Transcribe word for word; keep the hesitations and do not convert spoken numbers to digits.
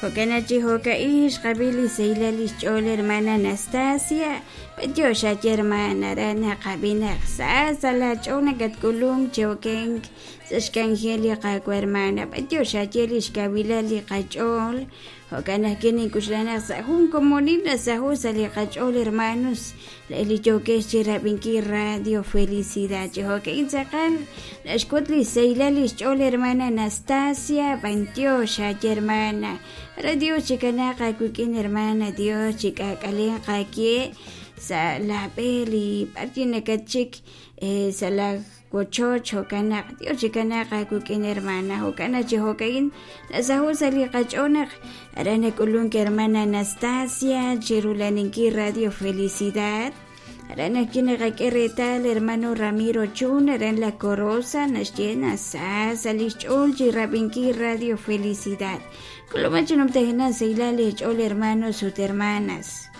Jo'kan chi jo'ka'in xqab'i li sahilal lix ch'ool hermana Anastasia b'antiox aye hermana ra naqab'i naq sa sa' la ch'ool nakatk'ulunk chi okenk sa' xk'anjel li Qaawa' hermana b'antiox aye lix kawilal li qach'ool jo'kan ajwi' nink'uxla naq sa' jun komonil nasaho' sa' li qach'ool hermanos li yookex chi rab'inkil Radio Felicidad chi jo'ka'in tz'aqal naxk'ut li sahilal lix ch'ool hermana Anastasia b'antiox aye hermana ra Dios chikanaaq aawik'in hermana Dios chik'aak'alen qakye sa' la b'e li b'ar nakatchik sa' la wochoch jo'kan naq Dios chikanaaq aawik'in hermana jo'kan chi jo'ka'in nasaho' sa' li qach'ool naq aran nak'ulunk hermana Anastasia chirulaninkil Radio Felicidad aran ajwi' naqak'e reetal hermano Ramiro Chun aran La Corosa naxye nasa sa' lix ch'ool chi rab'inkil Radio Felicidad k'ulub'an chi numtajenaq sahilal li ch'ool hermanos ut hermanas.